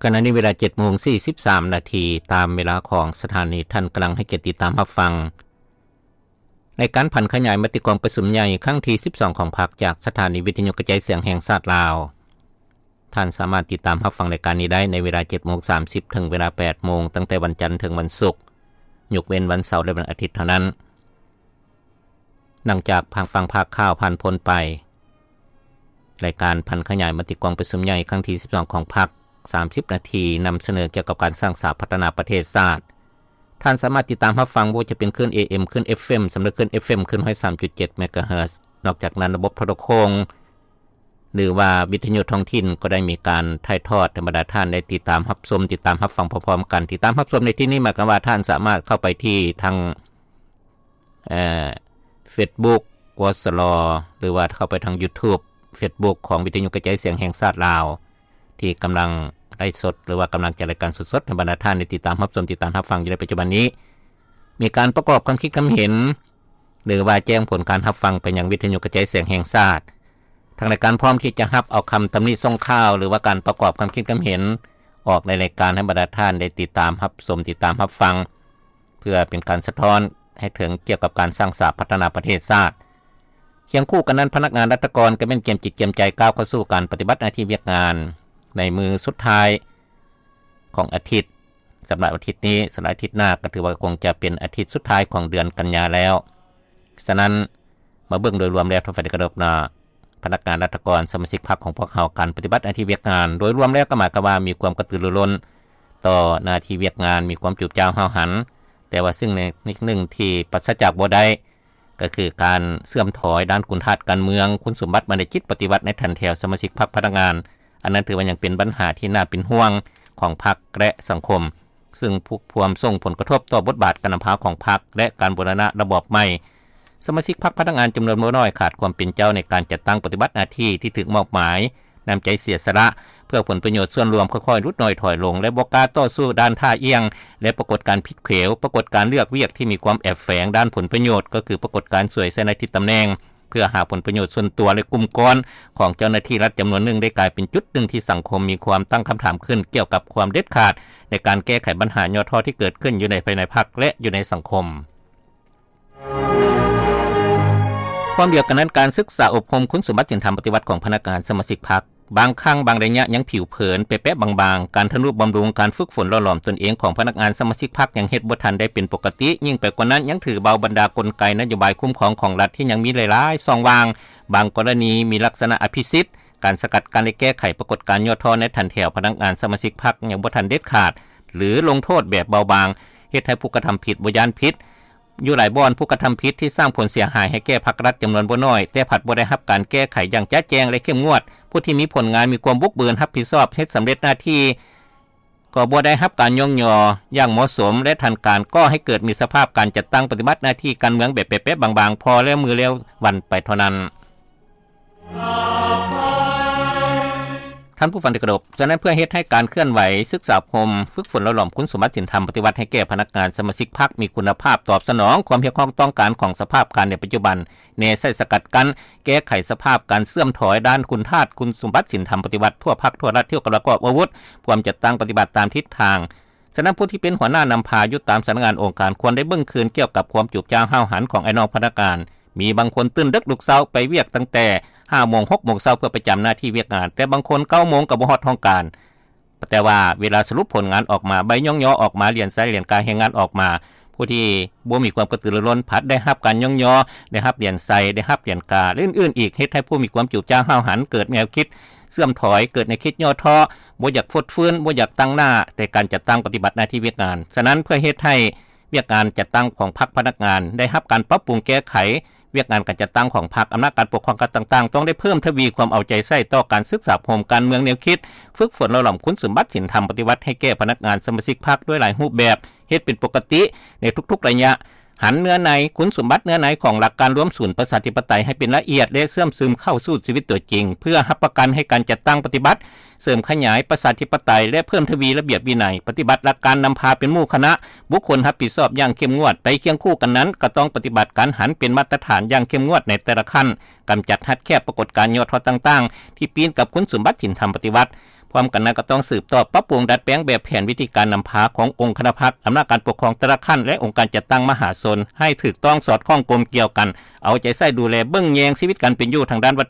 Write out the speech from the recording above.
ຂະນະນີ້ເວລາເຈັດໂມງສີ່ສິບສາມນາທີ ຕາມເວລາຂອງສະຖານີ. ທ່ານກຳລັງໃຫ້ກຽດຕິດຕາມຮັບຟັງ ລາຍການຜັນຂະຫຍາຍມະຕິກອງປະຊຸມໃຫຍ່ຄັ້ງທີສິບສອງຂອງພັກ ຈາກສະຖານີວິທະຍຸກະຈາຍສຽງແຫ່ງຊາດລາວ. ທ່ານສາມາດຕິດຕາມຮັບຟັງລາຍການນີ້ໄດ້ໃນເວລາເຈັດໂມງສາມສິບ ເຖິງເວລາແປດໂມງ ຕັ້ງແຕ່ວັນຈັນເຖິງວັນສຸກ, ຍົກເວັ້ນວັນເສົາ ແລະ ວັນອາທິດເທົ່ານັ້ນ. ຫຼັງຈາກຟັງພາກຂ່າວຜ່ານພົ້ນໄປ, ລາຍການຜັນຂະຫຍາຍມະຕິກອງປະຊຸມໃຫຍ່ຄັ້ງທີສິບສອງຂອງພັກ ສາມສິບນາທີ ນຳສະເໜີກ່ຽວກັບການສ້າງສາພັດທະນາປະເທດຊາດ. ທ່ານສາມາດຕິດຕາມຮັບຟັງບໍ່ວ່າຈະເປັນຄື້ນ ເອເອັມ, ຄື້ນ ເອັຟເອັມ ສຳລັບຄື້ນ ເອຟເອັມ ຄື້ນ ໜຶ່ງຮ້ອຍສາມຈຸດເຈັດ ເມກາເຮີດ. ນອກຈາກນັ້ນ, ລະບົບໂທລະໂຄ່ງ ຫຼືວ່າວິທະຍຸທ້ອງຖິ່ນ ກໍໄດ້ມີການຖ່າຍທອດໃຫ້ບັນດາທ່ານໄດ້ຕິດຕາມຮັບຊົມ, ຕິດຕາມຮັບຟັງພ້ອມໆກັນ. ຕິດຕາມຮັບຊົມໃນທີ່ນີ້ໝາຍຄວາມວ່າທ່ານສາມາດເຂົ້າໄປທີ່ທາງ ເອີ ເຟສບຸກ ກສລ ຫຼືວ່າເຂົ້າໄປທາງຢູທູບ ເຟສບຸກ ຂອງວິທະຍຸກະຈາຍສຽງແຫ່ງຊາດລາວ ທີ່ກຳລັງໄລຟ໌ສົດ ຫຼືວ່າກຳລັງຈັດລາຍການສົດໆໃຫ້ບັນດາທ່ານໄດ້ຕິດຕາມຮັບຊົມ, ຕິດຕາມຮັບຟັງຢູ່ໃນປັດຈຸບັນນີ້. ມີການປະກອບຄວາມຄິດຄວາມເຫັນ ຫຼືວ່າແຈ້ງຜົນການຮັບຟັງໄປຍັງວິທະຍຸກະຈາຍສຽງແຫ່ງຊາດ. ທາງລາຍການພ້ອມທີ່ຈະຮັບເອົາຄຳຕຳໜິສົ່ງຂ່າວ ຫຼືວ່າການປະກອບຄວາມຄິດຄວາມເຫັນອອກໃນລາຍການໃຫ້ບັນດາທ່ານໄດ້ຕິດຕາມຮັບຊົມ, ຕິດຕາມຮັບຟັງ ເພື່ອເປັນການສະທ້ອນໃຫ້ເຖິງກ່ຽວກັບການສ້າງສາພັດທະນາປະເທດຊາດ. ຄຽງຄູ່ກັນນັ້ນ, ພະນັກງານລັດຖະກອນກໍແມ່ນກຽມຈິດກຽມໃຈກ້າວເຂົ້າສູ່ການປະຕິບັດໜ້າທີ່ວຽກງານໃນມື້ສຸດທ້າຍຂອງອາທິດ. ສຳລັບອາທິດນີ້, ສຳລັບອາທິດໜ້າກໍຖືວ່າຄົງຈະເປັນອາທິດສຸດທ້າຍຂອງເດືອນກັນຍາແລ້ວ. ສະນັ້ນ, ມາເບິ່ງໂດຍລວມແລ້ວ ທ່ານຜູ້ຟັງທີ່ເຄົາລົບເນາະ, ພະນັກງານລັດຖະກອນ ສະມາຊິກພັກຂອງພວກເຮົາ ການປະຕິບັດໜ້າທີ່ວຽກງານໂດຍລວມແລ້ວກໍໝາຍຄວາມວ່າມີຄວາມກະຕືລືລົ້ນຕໍ່ໜ້າທີ່ວຽກງານ, ມີຄວາມຈູບຈ້າວຫ້າວຫັນ, ແຕ່ວ່າສິ່ງໜຶ່ງທີ່ປາສະຈາກບໍ່ໄດ້ ກໍຄືການເສື່ອມຖອຍດ້ານຄຸນທາດການເມືອງ, ຄຸນສົມບັດບັນດາຈິດປະຕິວັດໃນຖັນແຖວສະມາຊິກພັກພະນັກງານ. ອັນນັ້ນຖືວ່າຍັງເປັນບັນຫາທີ່ໜ້າເປັນຫ່ວງຂອງພັກ ແລະ ສັງຄົມ, ຊຶ່ງພວມສົ່ງຜົນກະທົບຕໍ່ບົດບາດການນຳພາຂອງພັກ ແລະ ການບູລະນະລະບອບໃໝ່. ສະມາຊິກພັກພະນັກງານຈຳນວນບໍ່ນ້ອຍຂາດຄວາມເປັນເຈົ້າໃນການຈັດຕັ້ງປະຕິບັດໜ້າທີ່ທີ່ຖືກມອບໝາຍ, ນ້ຳໃຈເສຍສະຫຼະເພື່ອຜົນປະໂຫຍດສ່ວນລວມຄ່ອຍໆຫຼຸດໜ້ອຍຖອຍລົງ ແລະ ບໍ່ກ້າຕໍ່ສູ້ດ້ານທ່າອ່ຽງ ແລະ ປາກົດການຜິດເຂວ, ປາກົດການເລືອກວຽກທີ່ມີຄວາມແອບແຝງດ້ານຜົນປະໂຫຍດ, ກໍຄືປາກົດການສວຍໃສ່ໜ້າທີ່ຕຳແໜ່ງ ເພື່ອຫາຜົນປະໂຫຍດສ່ວນຕົວ ແລະ ກຸ່ມກ້ອນຂອງເຈົ້າໜ້າທີ່ລັດຈຳນວນໜຶ່ງ ໄດ້ກາຍເປັນຈຸດໜຶ່ງທີ່ສັງຄົມມີຄວາມຕັ້ງຄຳຖາມຂຶ້ນກ່ຽວກັບຄວາມເດັດຂາດໃນການແກ້ໄຂບັນຫາຫຍໍ້ທໍ້ທີ່ເກີດຂຶ້ນຢູ່ໃນພາຍໃນພັກ ແລະ ຢູ່ໃນສັງຄົມ. ພ້ອມດຽວກັນນັ້ນ, ການສຶກສາອົບຮົມຄຸນສົມບັດສິນທຳປະຕິວັດຂອງພະນັກງານສະມາຊິກພັກ ບາງຄັ້ງບາງໄລຍະຍັງຜິວເຜີນແປະໆບາງໆ, ການທະນຸບຳລຸງ, ການຝຶກຝົນຫຼໍ່ຫຼອມຕົນເອງຂອງພະນັກງານສະມາຊິກພັກຍັງເຮັດບໍ່ທັນໄດ້ເປັນປົກກະຕິ, ຍິ່ງໄປກວ່ານັ້ນຍັງຖືເບົາບັນດາກົນໄກນະໂຍບາຍຄຸ້ມຄອງຂອງລັດທີ່ຍັງມີຫຼາຍໆຊ່ອງວ່າງ, ບາງກໍລະນີມີລັກສະນະອະພິສິດ, ການສະກັດກັ້ນ ແລະ ແກ້ໄຂປາກົດການຫຍໍ້ທໍ້ໃນຖັນແຖວພະນັກງານສະມາຊິກພັກຍັງບໍ່ທັນເດັດຂາດ ຫຼື ລົງໂທດແບບເບົາບາງ, ເຮັດໃຫ້ຜູ້ກະທຳຜິດບໍ່ຢ້ານຜິດ. ຢູ່ຫຼາຍບ່ອນ, ຜູ້ກະທຳຜິດທີ່ສ້າງຜົນເສຍຫາຍໃຫ້ແກ່ພັກລັດຈຳນວນບໍ່ນ້ອຍ, ແຕ່ພັດບໍ່ໄດ້ຮັບການແກ້ໄຂຢ່າງຈະແຈ້ງ ແລະ ເຂັ້ມງວດ. ຜູ້ທີ່ມີຜົນງານ, ມີຄວາມບຸກເບີນ, ຮັບຜິດຊອບ, ເຮັດສຳເລັດໜ້າທີ່, ກໍບໍ່ໄດ້ຮັບການຍ້ອງຍໍຢ່າງເໝາະສົມ ແລະ ທາງການກໍ່ໃຫ້ເກີດມີສະພາບການຈັດຕັ້ງປະຕິບັດໜ້າທີ່ການເມືອງແບບແປະໆບາງໆ, ພໍແລ້ວມື້ແລ້ວວັນໄປເທົ່ານັ້ນ. ທ່ານຜູ້ຟັງທີ່ເຄົາລົບ, ສະນັ້ນເພື່ອເຮັດໃຫ້ການເຄື່ອນໄຫວສຶກສາອົບຮົມຝຶກຝົນຫຼໍ່ຫຼອມຄຸນສົມບັດສິນທຳປະຕິວັດໃຫ້ແກ່ພະນັກງານສະມາຊິກພັກມີຄຸນນະພາບ, ຕອບສະໜອງຄວາມຮຽກຮ້ອງຕ້ອງການຂອງສະພາບການໃນປັດຈຸບັນ, ແນໃສ່ສະກັດກັ້ນ ແກ້ໄຂສະພາບການເສື່ອມຖອຍດ້ານຄຸນທາດຄຸນສົມບັດສິນທຳປະຕິວັດທົ່ວພັກທົ່ວລັດ ທີ່ກຳລັງປະກອບອາວຸດ ພວມຈັດຕັ້ງປະຕິບັດຕາມທິດທາງ. ສະນັ້ນ ຜູ້ທີ່ເປັນຫົວໜ້ານຳພາຢູ່ຕາມສຳນັກງານອົງການ ຄວນໄດ້ເບິ່ງຄືນກ່ຽວກັບຄວາມຈູບຈ້າວຫ້າວຫັນຂອງອ້າຍນ້ອງພະນັກງານ. ມີບາງຄົນຕື່ນເດິກລຸກເຊົ້າໄປວຽກຕັ້ງແຕ່ຫ້າໂມງ ຫົກໂມງເຊົ້າ ເພື່ອໄປຈຳໜ້າທີ່ວຽກງານ, ແຕ່ບາງຄົນເກົ້າໂມງກໍບໍ່ຮອດຫ້ອງການ. ແຕ່ວ່າເວລາສະຫຼຸບຜົນງານອອກມາ, ໃບຍ້ອງຍໍອອກມາ, ຫຼຽນໄຊ, ຫຼຽນກາແຮງງານອອກມາ, ຜູ້ທີ່ບໍ່ມີຄວາມກະຕືລືລົ້ນພັດໄດ້ຮັບການຍ້ອງຍໍ, ໄດ້ຮັບຫຼຽນໄຊ, ໄດ້ຮັບຫຼຽນກາ ແລະ ອື່ນໆອີກ, ເຮັດໃຫ້ຜູ້ມີຄວາມຈູບຈ້າວຫ້າວຫັນ, ເກີດແນວຄິດເສື່ອມຖອຍ, ເກີດແນວຄິດຫຍໍ້ທໍ້, ບໍ່ຢາກຟົດຟື້ນ, ບໍ່ຢາກຕັ້ງໜ້າໃນການຈັດຕັ້ງປະຕິບັດໜ້າທີ່ວຽກງານ. ສະນັ້ນ ເພື່ອເຮັດໃຫ້ວຽກງານຈັດຕັ້ງຂອງພັກພະນັກງານໄດ້ຮັບການປັບປຸງແກ້ໄຂ, ວຽກງານການຈັດຕັ້ງຂອງພັກ, ອຳນາດການປົກຄອງຂັ້ນຕ່າງໆ ຕ້ອງໄດ້ເພີ່ມທະວີຄວາມເອົາໃຈໃສ່ຕໍ່ການສຶກສາອົບຮົມການເມືອງແນວຄິດ, ຝຶກຝົນຫຼໍ່ຫຼອມຄຸນສົມບັດສິນທຳປະຕິວັດໃຫ້ແກ່ພະນັກງານສະມາຊິກພັກດ້ວຍຫຼາຍຮູບແບບ, ເຮັດເປັນປົກກະຕິໃນທຸກໆໄລຍະ, ຫັນເນື້ອໃນ, ຄຸນສົມບັດເນື້ອໃນຂອງຫຼັກການລວມສູນປະຊາທິປະໄຕໃຫ້ເປັນລະອຽດ ແລະ ເຊື່ອມຊຶມເຂົ້າສູ່ຊີວິດຕົວຈິງ, ເພື່ອຮັບປະກັນໃຫ້ການຈັດຕັ້ງປະຕິບັດ ເສີມຂະຫຍາຍປະຊາທິປະໄຕ ແລະ ເພີ່ມທະວີລະບຽບວິໄນ, ປະຕິບັດຫຼັກການນຳພາເປັນໝູ່ຄະນະ, ບຸກຄົນຮັບຜິດຊອບຢ່າງເຂັ້ມງວດ. ໄປຄຽງຄູ່ກັນນັ້ນ, ກໍຕ້ອງປະຕິບັດການຫັນເປັນມາດຕະຖານຢ່າງເຂັ້ມງວດໃນແຕ່ລະຂັ້ນ, ກຳຈັດຮັດແຄບປາກົດການຫຍໍ້ທໍ້ຕ່າງໆ ທີ່ປີ້ນກັບຄຸນສົມບັດສິນທຳປະຕິວັດ, ເພ ພ້ອມກັນນັ້ນກໍຕ້ອງສືບຕໍ່ປັບປຸງດັດແປງແບບແຜນວິທີການນຳພາຂອງອົງຄະນະພັກ, ອຳນາດການປົກຄອງແຕ່ລະຂັ້ນ ແລະ ອົງການຈັດຕັ້ງມະຫາຊົນ ໃຫ້ຖືກຕ້ອງສອດຄ່ອງກົມກ່ຽວກັນ, ເອົາໃຈໃສ່ດູແລເບິ່ງແຍງຊີວິດການເປັນຢູ່ທາງດ້ານວັດ